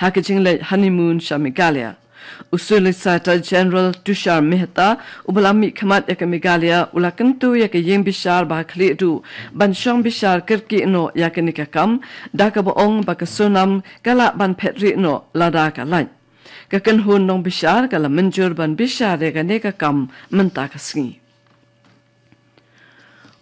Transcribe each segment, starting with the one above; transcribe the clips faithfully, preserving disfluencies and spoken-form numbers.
ha ka jingleit honeymoon sha Meghalaya. U Solicitor General Tushar Mehta, uba la mihkhmat ïa ka Meghalaya, u la kyntu ïa ka ïing bishar ba ha khlieh duh ban shong bishar kyrkieh noh ïa kane ka kam, da kaba ong ba ka Sonam ka lah ban phet rieh noh lada ka lait. Ka kynhun nongbishar ka la mynjur ban bishar ïa kane ka kam mynta ka sngi.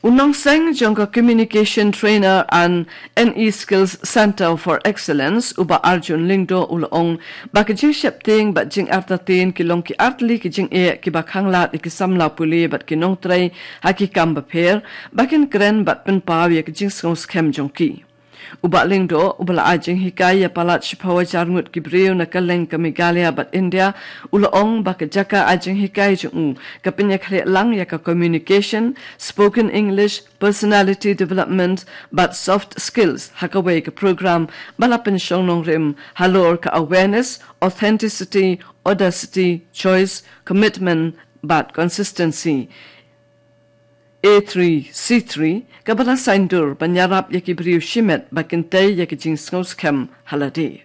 U nongseng jong ka Communication Trainer and N E Skills Centre for Excellence, u Bah Arjun Lyngdoh, u la ong ba ka jingsheptieng bad jingartatien ki long ki artylli ki jingeh kiba khanglad ïa ki samla pule bad ki nongtrei ha ki kam bapher, ba kin kren bad pynpaw ïa ka jingsngewskhem jong ki. U Bah Lyngdoh, uba la ai jinghikai ïa palat shiphew hajar ngut ki briew na kylleng ka Meghalaya bad India, u la ong ba ka jaka ai jinghikai jong u ka pynïakhleh lang ïa ka communication, spoken English, personality development bad soft skills ha kawei ka program ba la pynshong nongrim halor ka awareness, authenticity, audacity, choice, commitment bad consistency, A three C three, kaba la saiñdur ban ïarap ïa ki briew shimet ba kin tei ïa ki jingsngewskhem ha lade.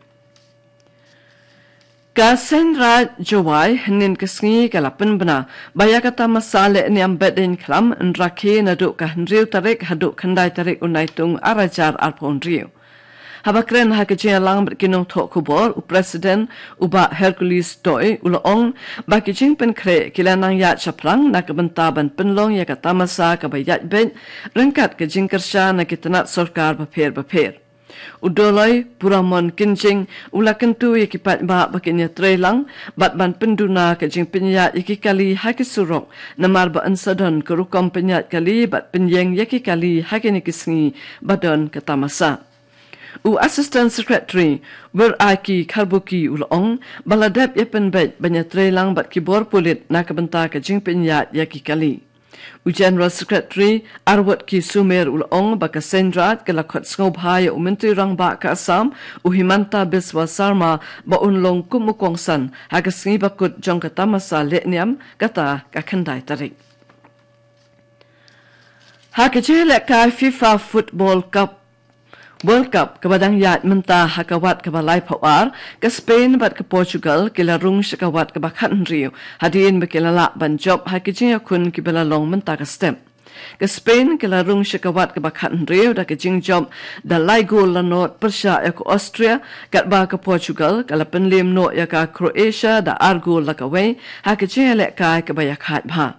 Ka Seiñraij Jowai hynnin ka sngi ka la pynbna ba ïa ka tamasa lehniam Behdeiñkhlam yn rakhe naduh ka hynriew tarik haduh khyndai tarik u Naitung ar hajar arphew hynriew. Haba kren ha ka jingïalang bad ki nongthoh khubor, u President, u Bah Hercules Toi, u la ong ba ki jingpynkhreh ki la nang ïaid shaphrang na ka bynta ban pynlong ïa ka tamasa kaba ïaid beit ryngkat ka jingkyrshan na ki tnat sorkar bapher bapher. U Doloi Puramon Kynjing u la kyntu ïa ki paidbah ba kin ïatreilang bad ban pynduna ka jingpynïaid ïa ki kali ha ki surok, namar ba yn sa don ka rukom pynïaid kali bad pynïeng ïa ki kali ha kine ki sngi ba don ka tamasa. U Assistant Secretary Wiraiki Kharbuki u la ong ba la dep ïa pynbeit ban ïatreilang bad ki bor pulit na ka bynta ka jingpynïaid ïa ki kali. U General Secretary Arwotki Sumer u la ong ba ka Seiñraij ka la khot sngewbha ïa u Myntri Rangbah ka Assam, u Himanta Biswa Sarma, ba un long kum u kongsan ha ka sngi bakut jong ka tamasa lehniam, kata ka khyndai tarik. Ha ka jingïalehkai FIFA Football Cup, World Cup kaba dang ïaid mynta ha ka wat kaba laiphew ar, ka Spain bad ka Portugal ki la rung sha ka wat kaba khathynriew hadien ba ki la lah ban jop ha ki jingïakhun kiba la long mynta ka step. Ka Spain ki la rung sha ka wat kaba khathynriew da ka jingjop da lai gol la nod pyrshah ïa ka Austria, katba ka Portugal ka la pynliem noh ïa ka Croatia da ar gol la kawei ha ka jingïalehkai kaba ïakhaid bha.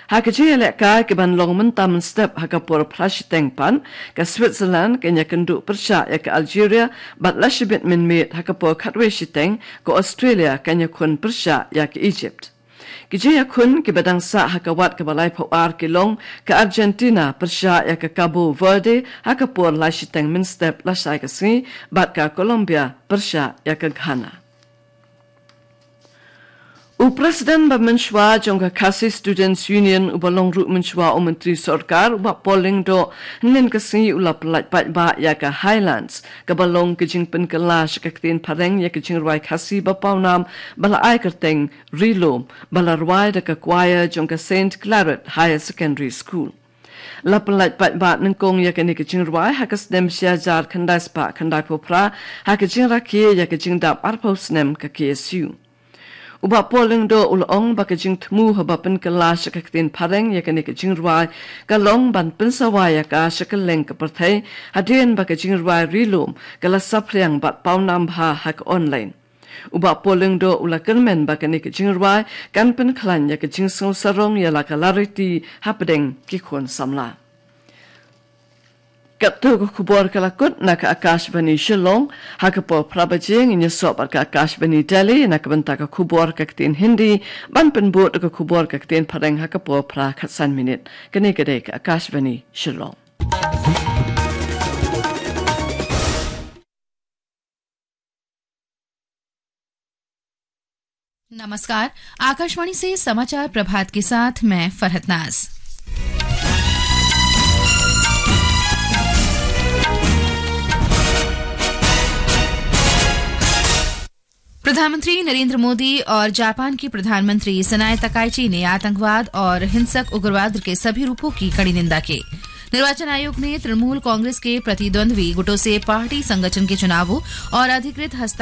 Ha ka jingïalehkai kaban long mynta mynstep ha ka por phra shiteng pat, ka Switzerland kan ïakynduh pyrshah ïa ka Algeria, bad lashibit mynmiet ha ka por khatwei shiteng ka Australia kan ïakhun pyrshah ïa ka Egypt. Ki jingïakhun kiba dang sah ha ka wat kaba laiphew ar ki long ka Argentina pyrshah ïa ka Cabo Verde ha ka por lai shiteng mynstep lashai ka sngi, bad ka Colombia pyrshah ïa ka Ghana. U President ba mynshuwa jong ka Khasi Students Union, uba long ruh mynshuwa u Myntri Sorkar, u Bah Paul Lyngdoh, hynnin ka sngi u la pyllait paidbah ïa ka Highlands, kaba long ka jingpynkylla sha ka ktien phareng ïa ka jingrwai Khasi ba pawnam, ba la ai kyrteng Ri Lum, ba la rwai da ka choir jong ka Saint Claret Higher Secondary School. La pyllait paidbah nyngkong ïa kane ka jingrwai ha ka snem shi hajar khyndai spah khyndaiphew phra, ha ka jingrakhe ïa ka jingdap arphew snem ka K S U. U Bah Paul Lyngdoh u la ong ba ka jingthmu haba pynkylla sha ka ktien phareng ïa kane ka jingrwai ka long ban pynsawa ïa ka sha kylleng ka pyrthei, hadien ba ka jingrwai Ri Lum ka la saphriang bad pawnam bha ha ka online. U Bah Paul Lyngdoh u la kyrmen ba kane ka jingrwai kan pynkhlaiñ ïa ka jingsngewsarong ïa la ka lariti hapdeng ki khun samla. Katto ka khubor ka la kut na ka Akashvani Shillong, ha ka por phra baje ngin ïasoh bad ka Akashvani Delhi na ka bynta ka khubor ka ktien Hindi, ban pynbud ka khubor ka ktien phareng ha ka por phra khatsan minit. Kane ka dei ka Akashvani Shillong. नमस्कार, आकाशवाणी से समाचार प्रभात के साथ मैं फरहत नाज। प्रधानमंत्री नरेंद्र मोदी और जापान की प्रधानमंत्री सनाए तकाइची ने आतंकवाद और हिंसक उग्रवाद के सभी रूपों की कड़ी निंदा की। निर्वाचन आयोग ने तृणमूल कांग्रेस के प्रतिद्वंद्वी गुटों से पार्टी संगठन के चुनावों और अधिकृत हस्ताक्षर